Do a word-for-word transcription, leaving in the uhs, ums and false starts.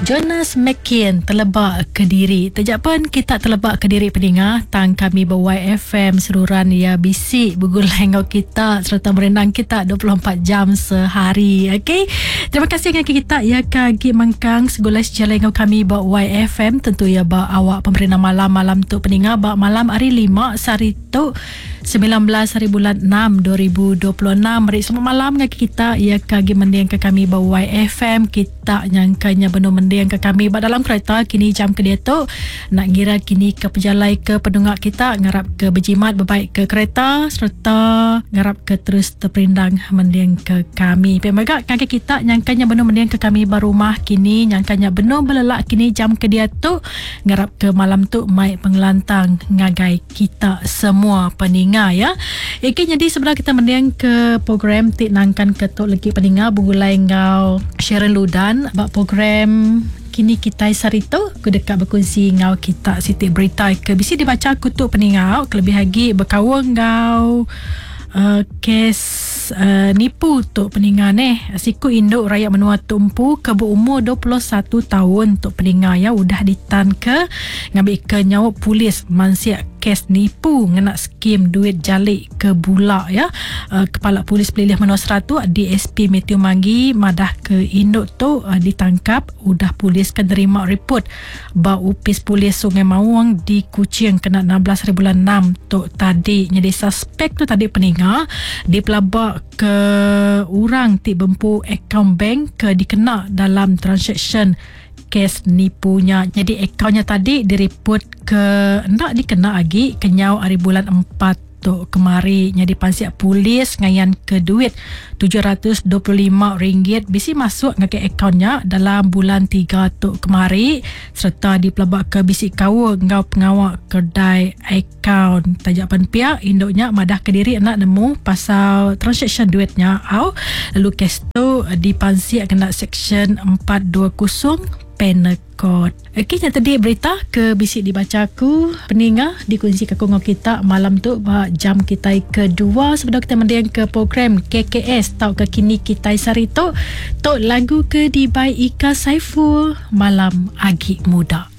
Jonas McKean telebak ke diri. Tejak pun kita telebak ke diri peninga tang kami ber Y F M seruran ya bisi bergulai ngau kita serta merendang kita dua puluh empat jam sehari. Okey. Terima kasih dengan kita ya kagi mengkang segulai sejalai ngau kami ber Y F M tentu ya ba awak pemerintah malam-malam tu peninga ba malam hari lima sehari tu sembilan belas hari bulan enam dua ribu dua puluh enam. Meri selamat malam dengan kita ya kagi mending ke kami ba Y F M. Kita nyangkanya benar mending ke kami ba dalam kereta kini jam ke dia tu nak ngira kini ke pejalai ke pendungak kita ngarap ke berjimat berbaik ke kereta serta ngarap ke terus terperindang mending ke kami. Pemegak kaki kita nyangkanya benar mending ke kami ba rumah kini nyangkanya benar berlelak kini jam ke dia tu ngarap ke malam tu mai pengelantang ngagai kita semua peninga ya. Okey, jadi sebelah kita mending ke program tik nangkan ketuk legi peninga bergulai ngau Sharon Ludan bab program kini kita sarito aku dekat berkongsi ngau kita siti berita ke bisi dibaca kutuk peningau kelebih lagi berkawan ngau uh, kes uh, nipu tok peninga neh. Siku induk rakyat menua tumpu ke berumur dua puluh satu tahun tok peninga ya udah ditan ke ngambil ke nyawa polis mansiak kes nipu ngena skim duit jalik ke bulak ya. Uh, Kepala Polis Pelilih Menua Seratu D S P Matthew Manggi madah ke induk tu uh, ditangkap udah polis ke nerima report ba upis polis Sungai Mawang di Kuching kena enam belas hari bulan enam tu tadi. Jadi suspek tu tadi peninga dipelabak ke orang ti bempu akaun bank ke dikena dalam transaction kes nipunya. Jadi akaunnya tadi direport ke nak dikena lagi kenyau hari bulan empat tu kemari. Jadi pansiak polis ngayan ke duit tujuh ratus dua puluh lima ringgit bisi masuk ngagai akaunnya dalam bulan tiga tu kemari serta dipelabak ke bisi kawa ngau pengawak kedai akaun. Tajak pan pihak induknya madah ke diri nak nemu pasal transaction duitnya au. Lalu kes tu dipansiak kena section empat dua kosong Penal Code. Okey, yang tadi berita ke bisik dibaca aku peninga dikunci ke kongong kita malam tu ba jam kita kedua sebelum kita mendiang ke program K K S tau ke kini kita sari tu tok lagu ke dibai Ika Saiful Malam Agi Muda.